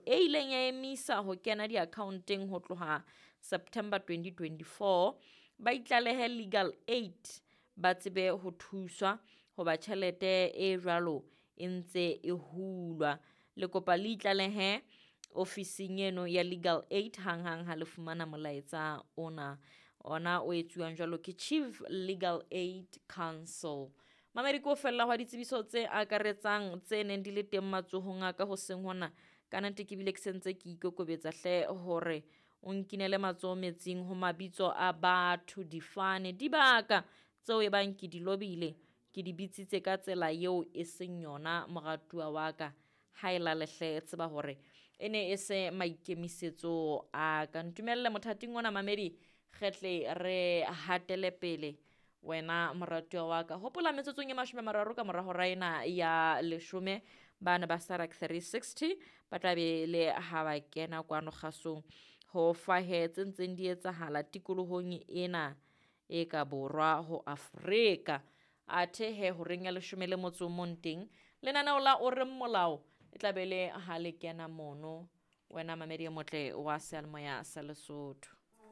e ileng ya emisa ho kena diakhaonteng ho tloha September 2024, ba itlalehe Legal Aid ba tsebe ho thuswa hoba tjhelete e jwalo e ntse e hulwa. Le kopa le itlalehe ofising eno ya Legal Aid hanghang ha le fumana molaetsa ona. Ona o etsuwang jwalo ke Chief Legal Aid Council. Mamedi ke ho fella hwa ditsebiso tse akaretsang tse neng di le teng matsohong a ka hoseng hona. Ka nnete ke bile ke sentse ke ikokobetsa hle hore o nkinele matsoho metsing ho mabitso a batho, difane, dibaka tseo e bang ke di lobile, ke di bitsitse ka tsela eo e seng yona moratuwa wa ka. Ha e lale hle tseba hore e ne e se maikemisetso a ka. Ntumelle mothating ona mamedi re tle re hatele pele wena moratuwa wa ka. Hopola metsotsong e 30 ka mora hora ena ya 10 bana ba Sarak 360 ba tla be le ha ba kena kwano kgasong ho fahe tse ntseng di etsahala tikolohong ena e ka borwa ho Afrika. Athe he horeng ya 11 teng lenaneo la o reng molao e tla be le ha le kena mono wena mamedi e motle wa seyalemoya sa Lesotho.